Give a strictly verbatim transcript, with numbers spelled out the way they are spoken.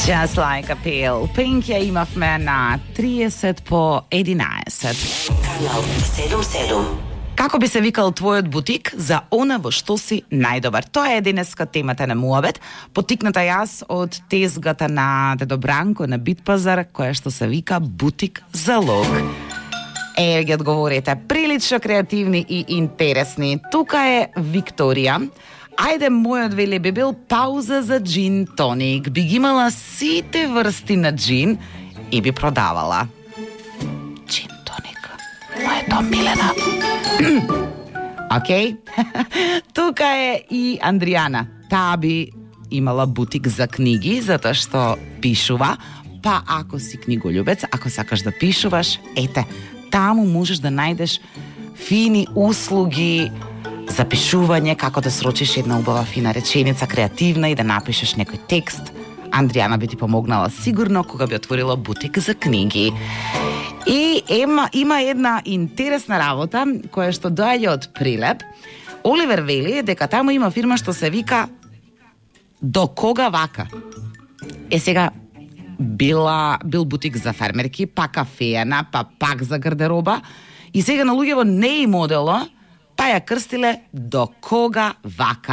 Just like a pill. Pink ја имавме на триесет по единаесет. Канал седум седум. Како би се викал твојот бутик за она во што си најдобар? Тоа е денеска темата на Муабет, потикната јас од тезгата на Дедо Бранко на Битпазар, која што се вика Бутик Залог. Е, ги одговорите, прилично креативни и интересни. Тука е Викторија. Ајде, мојот вели би бил пауза за джин тоник. Би ги имала сите врсти на джин и би продавала. Джин тоник. Моето Милена. Океј. Тука е и Андријана. Таа би имала бутик за книги, затоа што пишува. Па ако си книголюбец, ако сакаш да пишуваш, ете, таму можеш да најдеш фини услуги за пишување, како да срочиш една убава фина реченица, креативна и да напишеш некој текст. Андријана би ти помогнала сигурно кога би отворила бутик за книги. И ема, има една интересна работа која што доаѓа од Прилеп. Оливер вели дека таму има фирма што се вика До кога вака. Е сега била бил бутик за фермерки, па кафејана, па пак за гардероба и сега на луѓево не и модело, па ја крстиле До кога вака.